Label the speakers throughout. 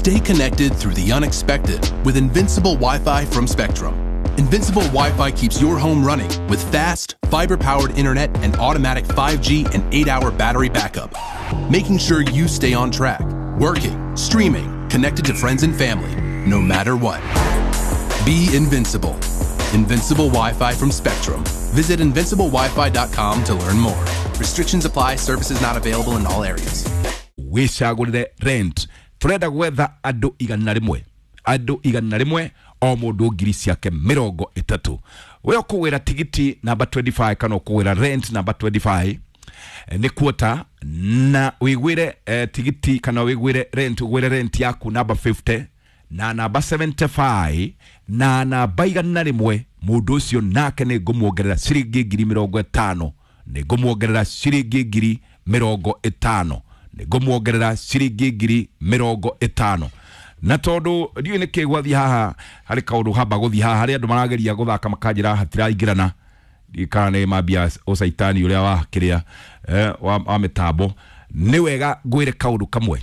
Speaker 1: Stay connected through the unexpected with Invincible Wi-Fi from Spectrum. Invincible Wi-Fi keeps your home running with fast, fiber-powered internet and automatic 5G and 8-hour battery backup, making sure you stay on track, working, streaming, connected to friends and family, no matter what. Be invincible. Invincible Wi-Fi from Spectrum. Visit invinciblewifi.com to learn more. Restrictions apply. Services not available in all areas.
Speaker 2: Wicagũrĩre rent. Turenda gwetha andũ 100, andũ 100, o mũndũ ngiri ciake 30. We ũkũgwĩra tigiti namba 25 kana ũkũgwĩra rent namba 25 nĩ kuota na wĩgwĩre tigiti kana wĩgwĩre rent, ũgwĩre rent yaku namba 50 na namba 75 na namba 100. Mũndũ ũcio nake nĩ ngũmuongerera ciringi ngiri 50, nĩ ngũmuongerera ciringi ngiri 50, nĩ ngũmuongerera ciringi ngiri 50. Na tondũ ndiũĩ nĩkĩ gwathiĩ haha, harĩ kaũndũ hamba gũthiĩ haha, harĩ andũ marageria gũthaka makanjĩra hatiraingĩrana, kana nĩ mambia ũcaitani ũrĩa wa kĩrĩa wa mĩtambo. Nĩ wega ngwĩre kaũndũ kamwe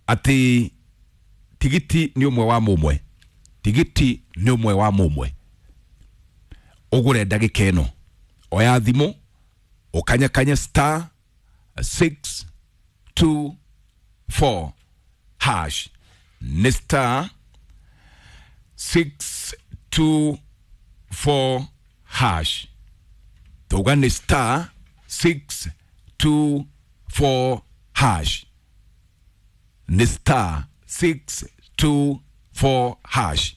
Speaker 2: atĩ tigiti nĩ ũmwe wa mũmwe, tigiti nĩ ũmwe wa mũmwe. Ũgũre ndagĩka ĩno, oya thimũ ũkanyakanye star 624 hash, nĩ star 624 hash, tuga nĩ star 624 hash, nĩ star 624 hash.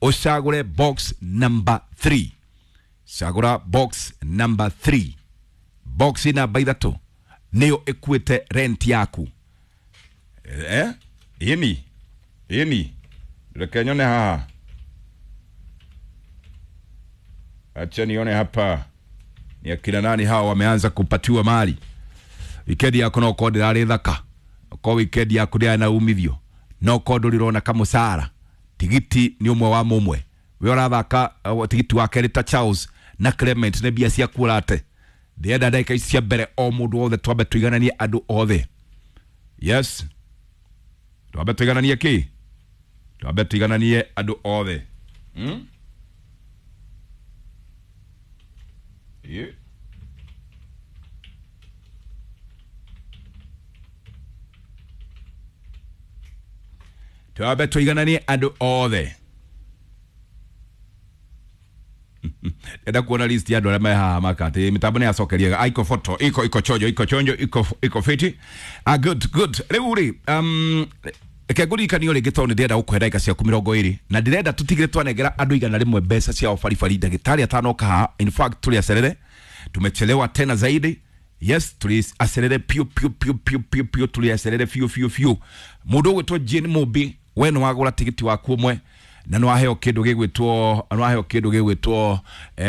Speaker 2: Ũcagũre box number 3, cagũra box number 3, box namba 3 nĩyo ĩkuĩte rent yaku. Ĩni ĩni, reke nyone haha, acha nione hapa ni akina nani hawa wameanza kupatiwa mali. Wikendi yako no ko ndĩrarĩ thaka, ko wikendi yaku ndĩrarĩ na umithio, no ko ndũrĩrona kamũcara. Tigiti nĩ ũmwe wa mũmwe. We ũrathaka tigiti wa kerĩ ta Charles na Clement nĩ mbia ciaku ũrate. Ndĩrenda ndagĩka ici cia mbere o mũndũ wothe twambe tũigananie andũ othe. Yes, twambe tũigananie kĩ? Twambe tũigananie andũ othe. Yeah. Twambe tũigananie andũ othe. Enda kuona list ya andũ arĩa me haha makati mitambo nĩ yacokeria iko photo iko iko chojo iko chonjo iko iko fiti. Good good. Rĩu rĩ, reke ngũririkanie rĩngĩ tondũ nĩ ndĩrenda gũkũhe ndagĩka ciaku 20 na ndĩrenda tũtigĩre twanengera andũ 100 mbeca ciao baribari ndagĩtarĩ atanoka haha. In fact tũrĩ acerere, tumechelewa tena zaidi. Yes, tũrĩ acerere piũ piũ piũ piũ piũ piũ, tũrĩ acerere biũ biũ biũ. Mũndũ ũgwĩtwo Jane Mũmbi, we nĩ wagũra tigiti waku ũmwe na nĩ waheo kĩndũ gĩgwĩtwo, nĩ waheo kĩndũ gĩgwĩtwo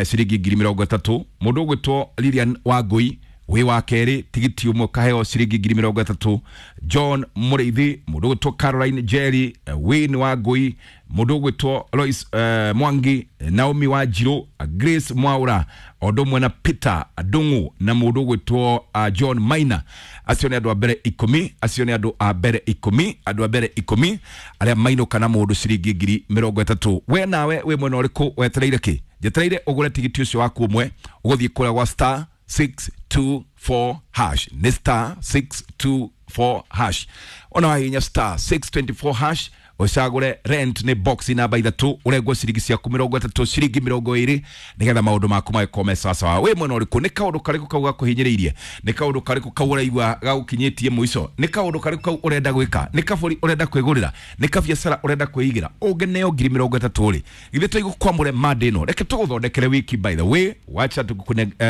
Speaker 2: ciringi ngiri 30. Mũndũ ũgwĩtwo Lilian Wangui wĩ wa kerĩ, tigiti ũmwe ũkaheo ciringi ngiri 30. John Mũrĩithi, mũndũ ũgwĩtwo Caroline Jerry, Wayne Wangui, mũndũ ũgwĩtwo Lois Mwangi, Naomi Wanjirũ, Grace Mwaura, o ũndũ ũmwe na Peter Ndung'u na mũndũ ũgwĩtwo John Maina. Acio nĩ andũ a mbere 10, acio nĩ andũ a mbere 10, andũ a mbere 10 arĩa mainũka na mũndũ ciringi ngiri 30. We nawe wĩ mwena ũrĩkũ wetereire kĩ? Njetereire ũgũre tigiti ũcio waku ũmwe, ũgũthiĩ kũrĩa gwa star 624 hash, nĩ star 624 hash. Ona wahihinya star 624 hash ũcagũre rent nĩ box namba 3, ũrengwo ciringi ciaku 30, ciringi 20, nĩgetha maũndũ maku magĩkorwo me sawasawa. Wĩ mwena ũrĩkũ? Nĩ kaũndũ karĩkũ kau gakũhinyĩrĩirie? Nĩ kaũndũ karĩkũ kau ũraigua gagũkinyĩtie mũico? Nĩ kaũndũ karĩkũ kau ũrenda gwĩka? Nĩ kabũri ũrenda kwĩgũrĩra? Nĩ kabiacara ũrenda kwĩigĩra? Ũngĩneo ngiri 30 rĩ, githĩ tũigũkwamũre mande ĩno? Reke tũgũthondekere wiki, by the way, wacha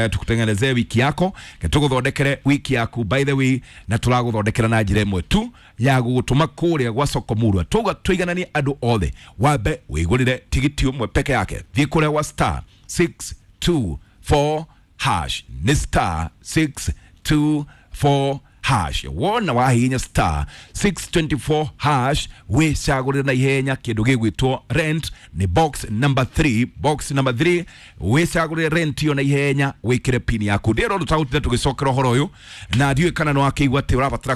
Speaker 2: tukutengenezee wiki yako, reke tũgũthondekere wiki yaku, by the way, na tũragũthondekera na njĩra ĩmwe tu ya gũgũtũma kũrĩa gwa soko murwa. Tuga tũigananie andũ othe, wambe wĩgũrĩre tigiti ũmwe peke yake. Thiĩ kũrĩa gwa star 624 hash, nĩ star 624 hash. Wona wahihinya star 624 hash wĩcagũrĩre na ihenya kĩndũ gĩgwĩtwo rent nĩ box number 3, box number 3. Wĩcagũrĩre rent ĩyo na ihenya, wĩkĩre pin yaku. Ndĩrona ũndũ tagũtinda tũgĩcokera ũhoro ũyũ na ndiũĩ kana nĩ wakĩigua atĩ ũrabatara